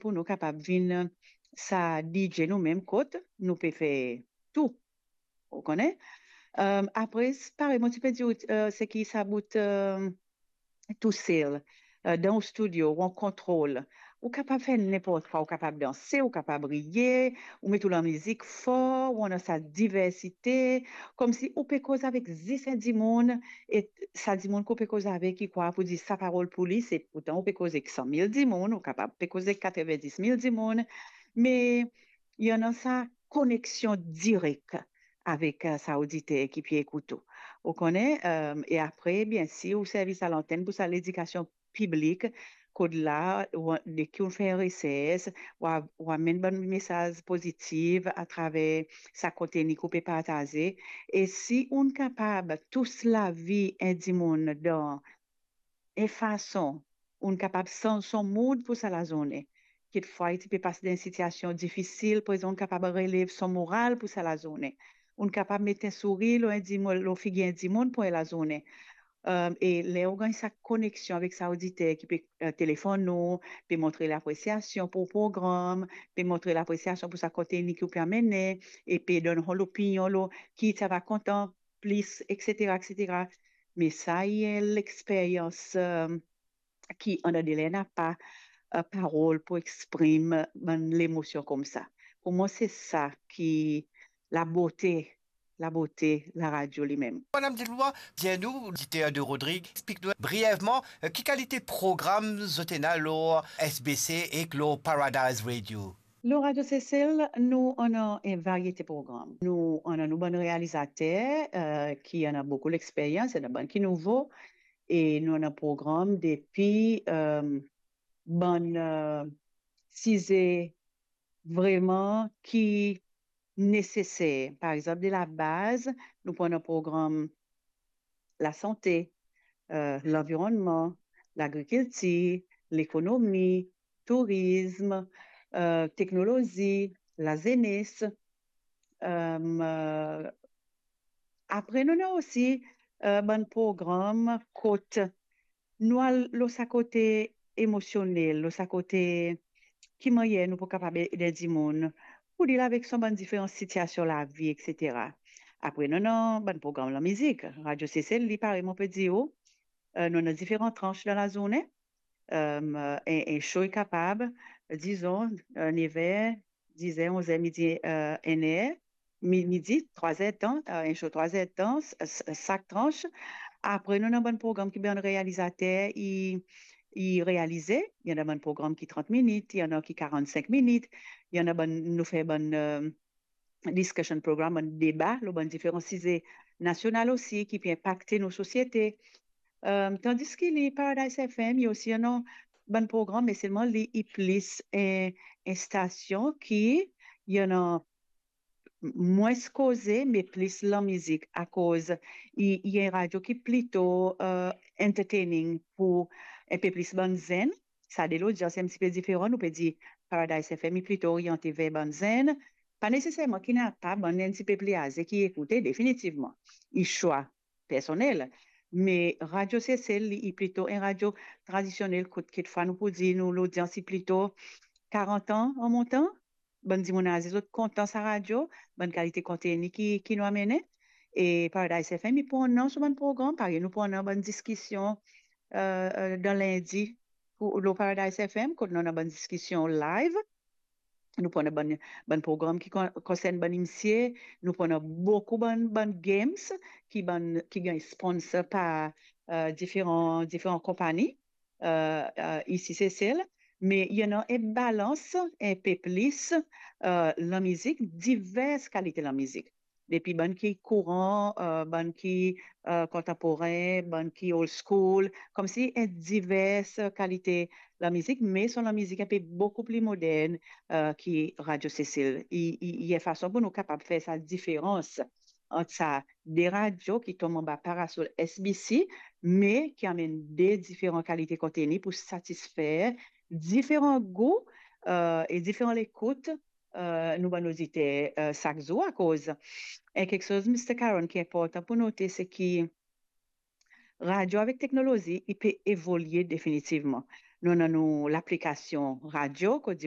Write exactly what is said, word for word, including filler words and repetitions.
pou nou kapab vinn sa D J nou mem kot nou pe fer tou. Ou kone? Apre, parey mo ti pe dir, seki sa bout tousel dan ou studio, ou an kontrol, ou kapab fer ninport kwa, ou kapab danse, ou kapab riye, ou met ou lamizik for, ou ena sa diversite, koumsi ou pe koz avek zis enn dimoun, e sa dimoun ki ou pe koz avek, li krwar pou dir sa parol pou li, se pourtan ou pe koz ek san mil dimoun, ou kapab pe koz ek katrevin-dis mil dimoun, me li ena sa koneksion direk avek sa oditer ki pe ekout ou. Ou kone, e apre, biensir, ou servi sa lantenn pou sa ledikasion piblik, kot la, deki ou fer resers, ou amenn bann mesaz pozitif atraver sa konteni ki ou pe partaze. E si ou kapab tous lavi enn dimoun dan enn fason, ou kapab sanz son mood pou sa lazourne. Kikfwa li ti pe pas dan enn sitiasion difisil, prezan ou kapab relev son moral pou sa lazourne. Ou kapab met enn sourir lor enn dimoun, lor figir enn dimoun pou enn lazourne. E ler ou gagn sa koneksion avek sa oditer ki pe telefonn ou, pe montre lapresiasion pou program, pe montre lapresiasion pou sa konteni ki ou pe amene, e pe donn son lopinion lor ki sa va kontan plis, etsetera, etsetera. Me sa, li enn lexperyans ki andadeler napa parol pou exprim bann lemosion koumsa. Pou mwa, se sa ki labote, labote laradio limem. Madam Delwa, dir nou, oditer de Rodrig, explik nou brievman ki kalite program zot ena lor S B C ek lor Paradise Radio. Lor Radio Sesel, nou ena enn variete program. Nou ena nou bann realizater ki ena boukou lexperyans, ena bann ki nouvo, e nou ena program depi bann size vreman ki neseser. Par exanp, de labaz, nou pou ena program lasante, lanvironnman, lagrikiltir, lekonomi, tourizm, teknolozi, lazenes. Apre, nou ena osi bann program kot nou al lor sa kote emosionel, lor sa kote ki mannyer nou pou kapab ed enn dimoun pou deal avek son bann diferan sitiasion lavi, etsetera. Apre, nou ena bann program lamizik. Radio Sesel, li, parey mo pe dir ou, nou ena diferan trans dan lazourne. Enn show li kapab, dizon, nev er, diz er, onz er, midi, enn er, midi, trwa er tan, enn show trwa er tan, sak trans. Apre, nou ena bann program ki bann realizater i realize. Li ena bann program ki trant minit, li ena ki karannsink minit, li ena bann, nou fer bann discussion program, bann deba lor bann diferan size nasional osi ki pe inpakte nou sosiete. Tandiski li, Paradise F M, li osi ena bann program, me selman li, li plis enn stasion ki li ena mwins koze, me plis lamizik, akoz li, li enn radio ki plito entertaining pou enn pe plis bann zenn. Sa de lodians enn tipe diferan, nou pe dir Paradise F M li plito oriante ver bann zenn. Pa neseserman ki napa bann enn tipe pli aze ki ekoute, definitivman. Li swa personel. Me Radio Sesel, li, li plito enn radio tradisionel, kot kikfwa nou pou dir nou lodians li plito karant an an montan. Bann dimoun aze, zot kontan sa radio, bann kalite konteni ki, ki nou amene. E Paradise F M, li pou ena so bann program, parey nou pou ena bann diskision dan lindi lor Paradise F M, kot nou ena bann diskision live. Nou pou ena bann, bann program ki konsern bann msye, nou pou ena boukou bann, bann games ki bann, ki gagn sponsor par diferan, diferan konpani isi Sesel, me li ena enn balans enn pe plis lamizik, divers kalite lamizik. Depi bann ki kouran, bann ki kontanporin, bann ki old school, koumsi enn divers kalite lamizik, me son lamizik enn pe boukou pli modern ki Radio Sesel. Li, li, li enn fason pou nou kapab fer sa diferans ant sa de radio ki tom anba parasol S B C, me ki amenn de diferan kalite konteni pou satisfer diferan gou e diferan lekout nou bann oditer sak zour, akoz enn kiksoz, Mister Caron, ki inportan pou note, se ki radio avek teknolozi, li pe evolie definitivman. Nou ena nou laplikasion radio, kot